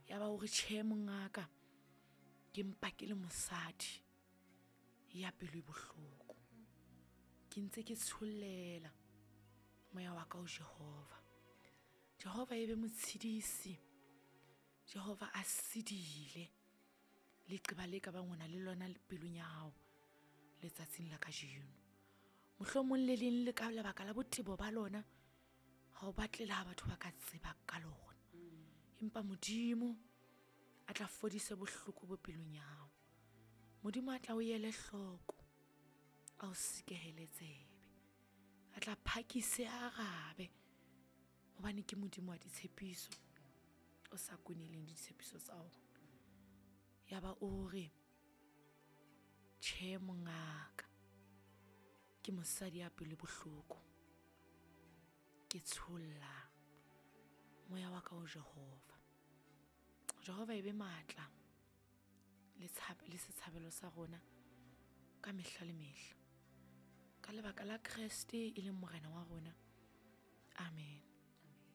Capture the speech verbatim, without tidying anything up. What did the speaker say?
Ya ba o re, tjhe mongaka, ke mpa ke le mosadi ya pelo e bohloko, ke ntse ke tshollela moya wa ka ho Jehova. Jehova e be motshedisi, Jehova a sedile leqeba le ka bang o na le lona pelong ya hao letsatsing la kajeno. Mohlomong le leng le ka lebaka la botebo ba lona, ha o batle le ha batho ba ka tseba ka lona. Empa Modimo a tla fodise bohloko bo pelong ya hao. Modimo a tla o ele hloko, a o sekehele tsebe, a tla phakise a arabe, hobane ke Modimo wa ditshepiso, o sa kweneleng ditshepiso tsa ona. Ya ba o re, tjhe mongaka, ke mosadi ya pelo bohloko, ke tsholla moya wa ka ho Jehova. Jehova e be matla le tshab-, le setshabelo sa rona ka mehla le mehla, ka lebaka la Kreste e leng Morena wa rona. Amen.